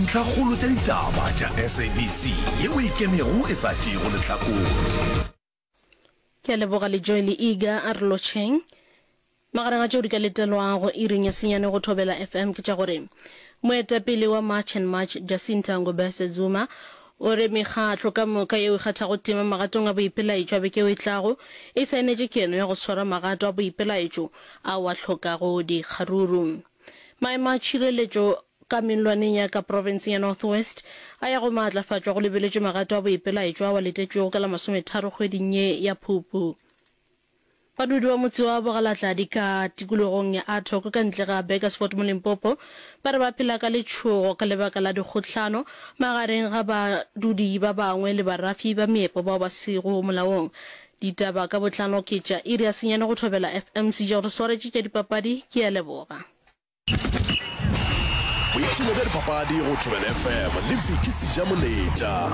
Dintlhakgolo tša ditaba tša SABC yeo e ikemego e sa tšeego lehlakore. Ke a leboga Lejoe le Iga a re lotšheng. Magareng a tšeo di ka letelwago iring ya senyane go Thobela FM ke tša gore moetapele wa March and March Jacinta Ngobese Zuma o re mekgatlo ka moka yeo e kgathago tema magatong a boipelaetšo a beke yeo e tlago e saenetše keno ya go swara magato a boipelaetšo ao a hlokago dikgaruru. Maemo a tšhireletšo ka mellwaneng ya ka profenseng ya North West a ya go maatlafatšwa go lebeletšwe magato a boipelaetšo ao a letetšwego ka la masometharo kgweding ye ya Phupu. Badudi ba motse wa Bogalatladi ka tikologong ya Athoko ka ntle ga Burgersfort mo Limpopo ba re ba phela ka letšhogo ka lebaka la dikgohlano magareng ga badudi ba bangwe le barafi ba meepo bao ba sego molaong. Ditaba ka botlalo ke tša iri ya senyane go Thobela FM. Sejego re swaretše tša dipapadi, ke a leboga. Boipshino bja dipapadi go Thobela FM le Vicky Sejamoletša.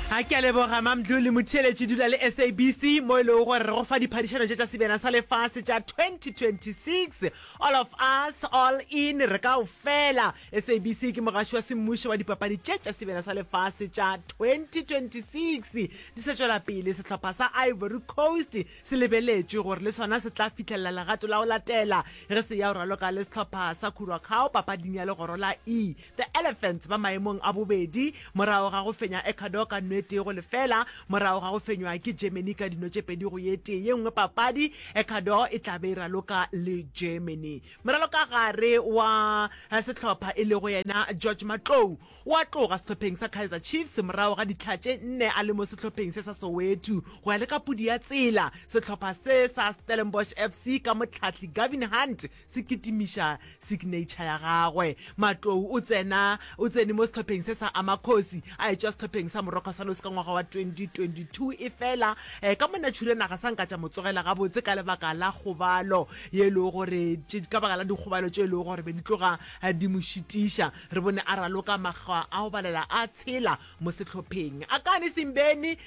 A ke a leboga Mamdluli Motheeletši dula le SABC mo e lego gore re go fa diphadišano tše tša Sebjana sa Lefase tša 2026 All of us all in re kaofela. SABC ke mogaši wa semmušo wa dipapadi tše tša Sebjana sa Lefase tša 2026 di sa tšwela pele. Sehlopha sa Ivory Coast Se lebeletšwe gore le sona se tla fihlelela legato la go latela ge se ya go raloka le sehlopha sa Curacao papading ya legoro la E. The Elephants ba maemong a bobedi morago ga go fenya Ecuador ka nno e tee go lefela morago ga go fenywa ke Germany ka dino tše pedi go ye tee. Ye nngwe papadi, Ecuador e tla be e raloka le Germany. Moralokagare wa sehlopha e lego yena George Matlou O a tloga sehlopheng sa Kaizer Chiefs morago ga ditlha tše nne a le mo sehlopheng se sa Soweto. Go ya le ka pudi ya tsela, sehlopha se sa Stellenbosch FC ka mohlahli Gavin Hunt se kitimiša signature ya gagwe. Matlou o tsena o tsene mo sehlopheng se sa Amakhosi a etšwa sehlopheng sa Moroka Swallows ka ngwaga wa 2022 efela ka monatšhure naga sa nka tša mo tsogela gabotse ka lebaka la kgobalo ye e lego gore ka baka la dikgobalo tše e lego gore be di tloga di mo šitiša. Re bone a raloka makgwa a go balela a tshela mo sehlopheng. Akani Simbeni,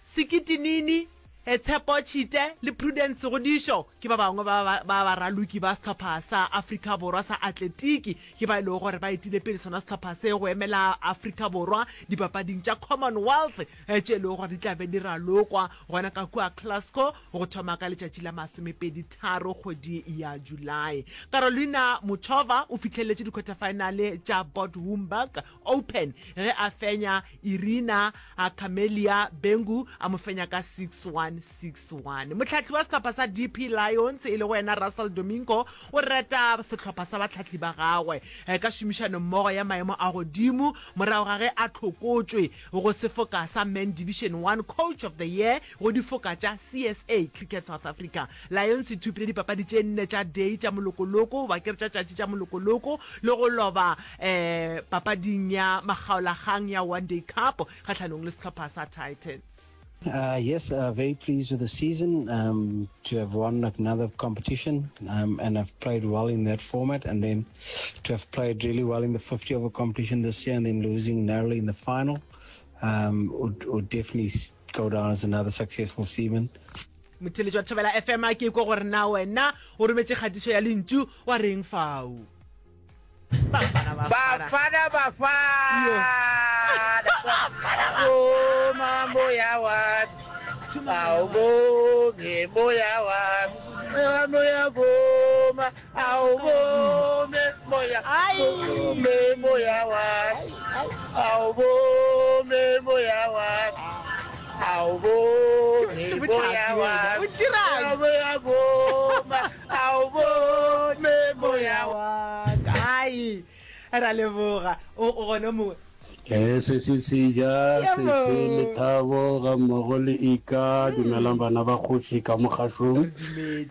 Sekiti Nini, Tshepo Tshite le Prudence Godišo ke ba bangwe ba ba baraloki ba sehlopha sa Afrika Borwa sa atletiki. Ke ba e lego gore ba etile pele sona sehlopha se go emela Afrika Borwa dipapading tša Commonwealth tše e lego gore di tla be di ralokwa gona ka kua Glasgow go thoma ka letšatši la masomepeditharo kgwedi ya Julae. Karolina Muchova o fihleletše dikhwethafaenale tša Bad Homburg Open ge a fenya Irina Camelia Bengu a mo fenya ka 6-1, 6-1. Mohlahli wa sehlopha sa DP Lions e lego yena Russell Domingo o reta sehlopha sa bahlahli ba gagwe ka šomišanommogo ya maemo a godimo morago ga ge a hlokotšwe go sefoka sa Men Division One Coach of the Year go difoka tša CSA, Cricket South Africa. Lions e thopile dipapadi tše nne tša day tša molokoloko goba ke re tša tšatši tša molokoloko le go loba um papading ya makgaolakgang ya One Day Cup kgahlanong le sehlopha sa Titans. Uh, yes, uh, very pleased with the season um, to have won another competition um, and have played well in that format, and then to have played really well in the 50 over competition this year and then losing narrowly in the final um, would, would definitely go down as another successful season. Motheeletši wa Thobela FM a ke kwe gore na wena o rometše kgatišo ya lentšu wa reng fao. Bafana Bafana. Bafana Bafana. Vuma moya wami. Awubonge moya wami. Moya vuma. Awubonge moya. Vume moya wami. Awubonge moya wami. Awubonge moya wami. Moya vuma. Awubonge moya waka. Ai, ra leboga. O gona mongwe. Eh, se se se ja, se se lethabo ga mmogo le Ika. Dumelang bana ba kgoši ka mogašong.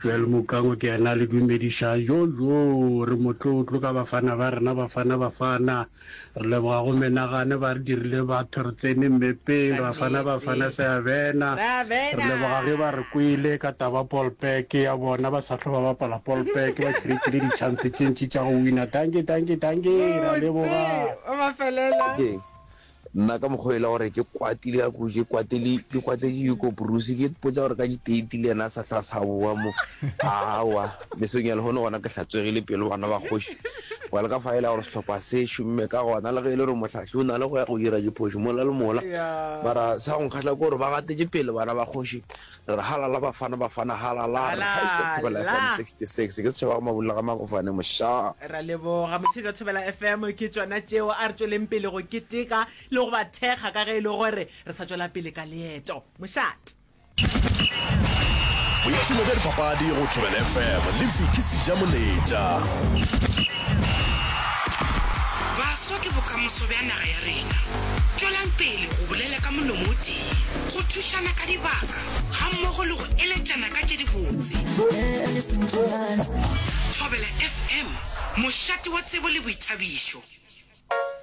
Joel Mokango ke yena a le dumedišang. Jo jo, re motlotlo ka bafana ba rena, bafana bafana. Re leboga go menagane ba re dirile batho re tsene mmepeng Bafana Bafana se a bena. Re leboga ge ba re kwele ka taba Polpek ya bona ba sa hlwa ba bapala Polpek ba creatile di chance tše ntši tša go wina. Dankie dankie dankie ra leboga. Wa mafelelo. Okay. Nna ka mokgwa e le gore ke kwatile ka kudu, ke kwatele, ke kwatetše Hugo Broos, ke ipotša gore ka diteiti le yena a sa hla sa boa mo. Aowa, mesong ya lehono gona ke hlatswegile pelo bana ba kgoši. Gobane ka fa e la gore sehlopha se šomme ka gona, le ge e le gore mohlahli o na le go ya go dira diphošo mola le mola. Mara sa go nkgahla ke gore ba gatetše pele bana ba kgoši. Re re halala Bafana Bafana halala, re hashtag Thobela FM 66. Ke setšhaba ga Mabula ga Makofane mošaa. Ra leboga motheetši wa Thobela FM, ke tšona tšeo. A re tšweleng pele go keteka le go ba thekga ka ge e le gore re sa tšwela pele ka leeto. Mošate. Boipshino bja dipapadi go Thobela FM le Vicky Sejamoletša. Baswa ke bokamoso bja naga ya rena. Tšwelang pele go bolela ka molomo o tee, go thušana ka dibaka gammogo le go eletšana ka tše dibotse. Thobela FM, mošate wa tsebo le boithabišo.